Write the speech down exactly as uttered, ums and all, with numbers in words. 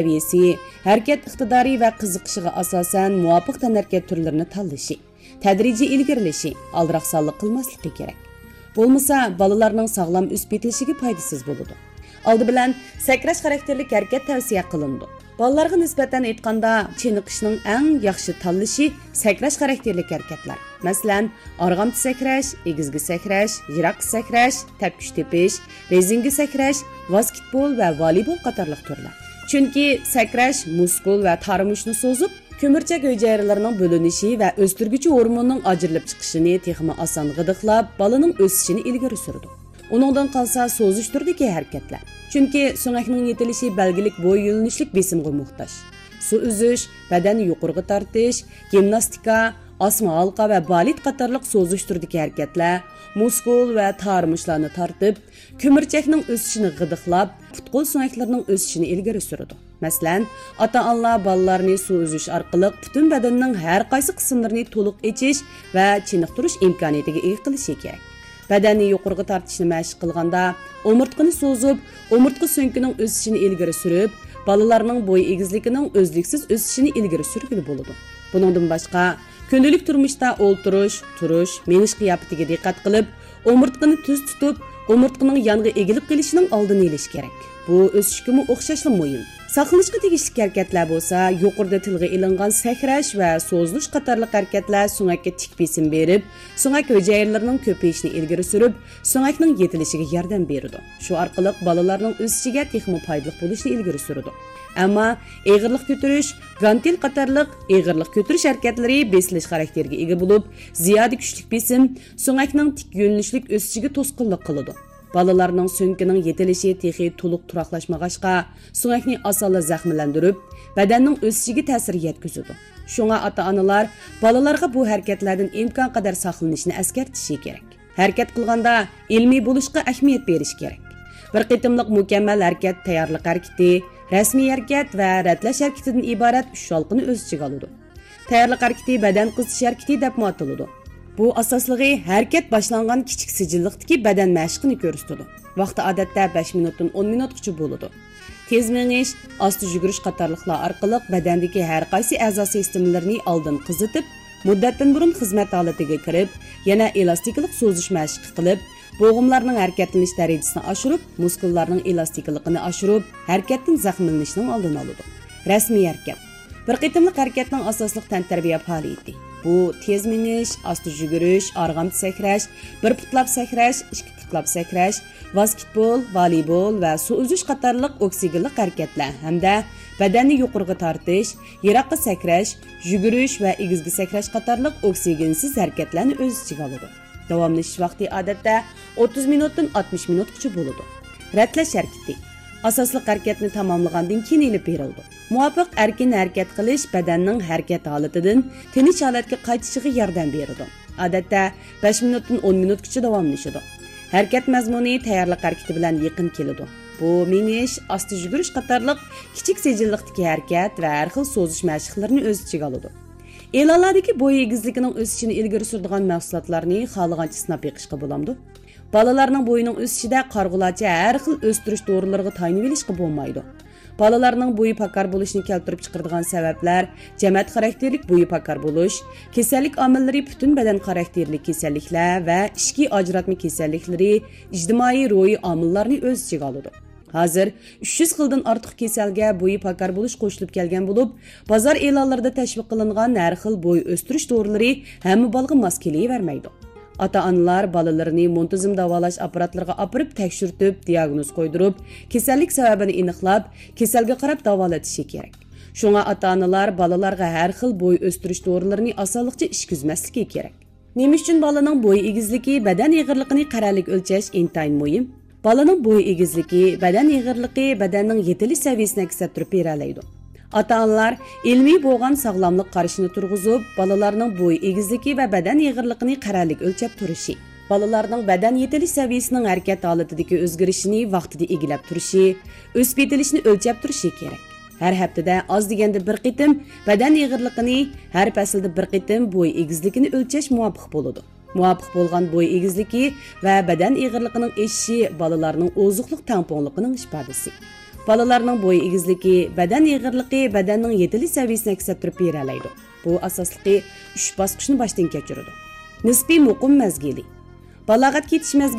سەۋىيەسى، ھەرىكەت ئىقتىدارى ۋە قىزىقىشىغا ئاساسەن مۇۋاپىق تەنھەرىكەت تۈرلىرىنى تاللىشى، تەدرىجىي ئىلگىرىلىشى، ئالدىراقسانلىق قىلماسلىقى كېرەك. بولمىسا، بالىلارنىڭ ساغلام ئۆسۈپ يېتىلىشىگە پايدىسىز بولىدۇ. ئالدى بىلەن، سەكرەش خاراكتېرلىك ھەرىكەت تەۋسىيە قىلىنىدۇ. بالىلارغا نىسبەتەن ئېيتقاندا، چېنىقىشنىڭ ئەڭ ياخشى تاللىشى سەكرەش خاراكتېرلىك ھەرىكەتلەر. مەسىلەن، ئارغامچا سەكرەش، ئېگىزگە سەكرەش، يىراققا سەكرەش، تەپكۈچ تېپىش، رېزىنكە سەكرەش، ۋاسكېتبول ۋە ۋالىبول قاتارلىق تۈرلەر. چۈنكى سەكرەش مۇسكۇل ۋە تارىمۇچنى سوزۇپ، كۆمۈرچەك ھۈجەيرىلىرىنىڭ بۆلۈنۈشى ۋە ئۆستۈرگۈچى ھورموننىڭ ئاجرىلىپ چىقىشىنى تېخىمۇ ئاسان غىدىقلاپ، بالىنىڭ ئۆسۈشىنى ئىلگىرى سۈرىدۇ. ئۇنىڭدىن قالسا سوزۇش تۈرىدىكى ھەرىكەتلەر. چۈنكى سۆڭەكنىڭ يېتىلىشى بەلگىلىك بوي يۆنىلىشلىك بېسىمغا موھتاج. سۇ ئۈزۈش، بەدەننى يۇقىرىغا تارتىش، گىمناستىكا، ئاسما ھالقا ۋە بالېت قاتارلىق سوزۇش تۈرىدىكى ھەرىكەتلەر مۇسكۇل ۋە تارىمۇچلارنى تارتىپ، كۆمۈرچەكنىڭ ئۆسۈشىنى غىدىقلاپ، پۇت-قول سۆڭەكلىرىنىڭ ئۆسۈشىنى ئىلگىرى سۈرىدۇ. مەسىلەن، ئاتا-ئانىلار بالىلارنى سۇ ئۈزۈش ئارقىلىق پۈتۈن بەدەننىڭ ھەر قايسى قىسىملىرىنى تولۇق ئېچىش ۋە چېنىقتۇرۇش ئىمكانىيىتىگە ئىگە قىلىشى كېرەك. بەدەننى يۇقىرىغا تارتىشنى مەشىق قىلغاندا، ئومۇرتقىنى سوزۇپ، ئومۇرتقا سۆڭىكىنىڭ ئۆسۈشىنى ئىلگىرى سۈرۈپ، بالىلارنىڭ بوي ئېگىزلىكىنىڭ ئۈزلۈكسىز ئۆسۈشىنى ئىلگىرى سۈرگىلى بولىدۇ. بۇنىڭدىن باشقا، كۈندىلىك تۇرمۇشتا ئولتۇرۇش، تۇرۇش، مېڭىش قىياپىتىگە دىققەت قىلىپ، ئومۇرتقىنى تۈز تۇتۇپ، ئومۇرتقىنىڭ يانغا ئېگىلىپ قېلىشىنىڭ ئالدىنى ئېلىش كېرەك. بۇ ئۆسۈشكىمۇ ئوخشاشلا مۇھىم. ساقلىنىشقا تېگىشلىك ھەرىكەتلەر بولسا، يۇقىرىدا تىلغا ئېلىنغان سەكرەش ۋە سوزۇلۇش قاتارلىق ھەرىكەتلەر سۆڭەككە تىك بېسىم بېرىپ، سۆڭەك ھۈجەيرىلىرىنىڭ كۆپىيىشىنى ئىلگىرى سۈرۈپ، سۆڭەكنىڭ يېتىلىشىگە ياردەم بېرىدۇ. شۇ ئارقىلىق بالىلارنىڭ ئۆسۈشىگە تېخىمۇ پايدىلىق بولۇشىنى ئىلگىرى سۈرىدۇ. ئەمما ئېغىرلىق كۆتۈرۈش، گانتېل قاتارلىق ئېغىرلىق كۆتۈرۈش ھەرىكەتلىرى بېسىلىش خاراكتېرىگە ئىگە بولۇپ، زىيادە كۈچلۈك بېسىم سۆڭەكنىڭ تىك يۆنىلىشلىك ئۆسۈشىگە توسقۇنلۇق قىلىدۇ. بالىلارنىڭ سۆڭىكىنىڭ يېتىلىشى تېخى تولۇق تۇراقلاشمىغاچقا، سۆڭەكنى ئاسانلا زەخىملەندۈرۈپ، بەدەننىڭ ئۆسۈشىگە تەسىر يەتكۈزىدۇ. شۇڭا ئاتا-ئانىلار بالىلارغا بۇ ھەرىكەتلەردىن ئىمكانقەدەر ساقلىنىشنى ئەسكەرتىشى كېرەك. ھەرىكەت قىلغاندا ئىلمىي بولۇشقا ئەھمىيەت بېرىش كېرەك. بىر قېتىملىق مۇكەممەل ھەرىكەت تەييارلىق ھەرىكىتى، رەسمىي ھەرىكەت ۋە رەتلەش ھەرىكىتىدىن ئىبارەت ئۈچ ھالقىنى ئۆز ئىچىگە ئالىدۇ. تەييارلىق ھەرىكىتى بەدەن قىزىتىش ھەرىكىتى دەپمۇ ئاتىلىدۇ. بۇ ئاساسلىقى ھەرىكەت باشلانغان كىچىك سىجىللىقتىكى بەدەن مەشىقىنى كۆرسىتىدۇ. ۋاقتى ئادەتتە بەش مىنۇتتىن ئون مىنۇتقىچە بولىدۇ. تېز مېڭىش، ئاستا يۈگۈرۈش قاتارلىقلار ئارقىلىق بەدەندىكى ھەر قايسى ئەزا سىستېمىلىرىنى ئالدىن قىزىتىپ، مۇددەتتىن بۇرۇن خىزمەت ھالىتىگە كىرىپ، يەنە ئېلاستىكىلىق سوزۇش مەشىقى قىلىپ، بوغۇملارنىڭ ھەرىكەتلىنىش دەرىجىسىنى ئاشۇرۇپ، مۇسكۇللارنىڭ ئېلاستىكىلىقىنى ئاشۇرۇپ، ھەرىكەتتىن زەخىملىنىشنىڭ ئالدىنى ئالىدۇ. رەسمىي ھەرىكەت. بىر قېتىملىق ھەرىكەتنىڭ ئاساسلىق تەنتەربىيە پائالىيىتى. بۇ تېز مېڭىش، ئاستا يۈگۈرۈش، ئارغامچا سەكرەش، بىر پۇتلاپ سەكرەش، ئىككى پۇتلاپ سەكرەش، ۋاسكېتبول، ۋالىبول ۋە سۇ ئۈزۈش قاتارلىق ئوكسىگېنلىق ھەرىكەتلەر ھەمدە بەدەننى يۇقىرىغا تارتىش، يىراققا سەكرەش، يۈگۈرۈش ۋە ئېگىزگە سەكرەش قاتارلىق ئوكسىگېنسىز ھەرىكەتلەرنى ئۆز ئىچىگە ئالىدۇ. داۋاملىشىش ۋاقتى ئادەتتە ئوتتۇز مىنۇتتىن ئاتمىش مىنۇتقىچە بولىدۇ. رەتلەش ھەرىكىتى. ئاساسلىق ھەرىكەتنى تاماملىغاندىن كېيىن ئېلىپ بېرىلىدۇ. مۇۋاپىق ئەركىن ھەرىكەت قىلىش بەدەننىڭ ھەرىكەت ھالىتىدىن تىنچ ھالەتكە قايتىشىغا ياردەم بېرىدۇ. ئادەتتە بەش مىنۇتتىن ئون مىنۇتقىچە داۋاملىشىدۇ. ھەرىكەت مەزمۇنى تەييارلىق ھەرىكىتى بىلەن يېقىن كېلىدۇ. بۇ مېڭىش، ئاستا يۈگۈرۈش قاتارلىق كىچىك سىجىللىقتىكى ھەرىكەت ۋە ھەر خىل سوزۇش مەشىقلىرىنى ئۆز ئىچىگە ئالىدۇ. ئېلانلاردىكى بوي ئېگىزلىكىنىڭ ئۆسۈشىنى ئىلگىرى سۈرىدىغان مەھسۇلاتلارنى خالىغانچە سىناپ بېقىشقا بولامدۇ؟ بالىلارنىڭ بويىنىڭ ئۆسۈشىدە قارىغۇلارچە ھەر خىل ئۆستۈرۈش دورىلىرىغا تايىنىۋېلىشقا بولمايدۇ. بالىلارنىڭ بويى پاكار بولۇشىنى كەلتۈرۈپ چىقىرىدىغان سەۋەبلەر جەمەت خاراكتېرلىك بويى پاكار بولۇش، كېسەللىك ئامىللىرى پۈتۈن بەدەن خاراكتېرلىك كېسەللىكلەر ۋە ئىچكى ئاجراتما كېسەللىكلىرى، ئىجتىمائىي روھىي ئامىللارنى ئۆز ئىچىگە ئالىدۇ. ھازىر ئۈچ يۈز خىلدىن ئارتۇق كېسەلگە بويى پاكار بولۇش قوشۇلۇپ كەلگەن بولۇپ، بازار ئېلانلىرىدا تەشۋىق قىلىنغان ھەر خىل بوي ئۆستۈرۈش دورىلىرى ھەممە بالىغا ماس كېلىۋەرمەيدۇ. ئاتا-ئانىلار بالىلىرىنى مۇنتىزىم داۋالاش ئاپپاراتلىرىغا ئاپىرىپ تەكشۈرتۈپ، دىئاگنوز قويدۇرۇپ، كېسەللىك سەۋەبىنى ئېنىقلاپ، كېسەلگە قاراپ داۋالىتىشى كېرەك. شۇڭا ئاتا-ئانىلار بالىلارغا ھەر خىل بوي ئۆستۈرۈش دورىلىرىنى ئاسانلىقچە ئىچكۈزمەسلىكى كېرەك. نېمە ئۈچۈن بالىنىڭ بوي ئېگىزلىكى بەدەن ئېغىرلىقىنى قەرەللىك ئۆلچەش ئىنتايىن مۇھىم؟ بالىنىڭ بوي ئېگىزلىكى بەدەن ئېغىرلىقى بەدەننىڭ يېتىلىش سەۋىيەسىنى ئەكس ئەتتۈرۈپ بېرەلەيدۇ. ئاتا-ئانىلار ئىلمىي بولغان ساغلاملىق قارىشىنى تۇرغۇزۇپ، بالىلارنىڭ بوي ئېگىزلىكى ۋە بەدەن ئېغىرلىقىنى قەرەللىك ئۆلچەپ تۇرۇشى، بالىلارنىڭ بەدەن يېتىلىش سەۋىيەسىنىڭ ھەرىكەت ھالىتىدىكى ئۆزگىرىشىنى ۋاقتىدا ئىگىلەپ تۇرۇشى، ئۆسۈپ يېتىلىشىنى ئۆلچەپ تۇرۇشى كېرەك. ھەر ھەپتىدە ئاز دېگەندە بىر قېتىم بەدەن ئېغىرلىقىنى، ھەر پەسىلدە بىر قېتىم بوي ئېگىزلىكىنى ئۆلچەش مۇۋاپىق بولىدۇ. مۇۋاپىق بولغان بوي ئېگىزلىكى ۋە بەدەن ئېغىرلىقىنىڭ ئېشىشى بالىلارنىڭ ئوزۇقلۇق تەڭپۇڭلۇقىنىڭ ئىپادىسى. بالىلارنىڭ بوي ئېگىزلىكى، بەدەن ئېغىرلىقى بەدەننىڭ يېتىلىش سەۋىيەسىنى ئەكس ئەتتۈرۈپ بېرەلەيدۇ. بۇ ئاساسلىقى ئۈچ باسقۇچنى باشتىن كەچۈرىدۇ. نىسپىي مۇقىم مەزگىلى. بالاغەتكە يېتىش مەزگىلى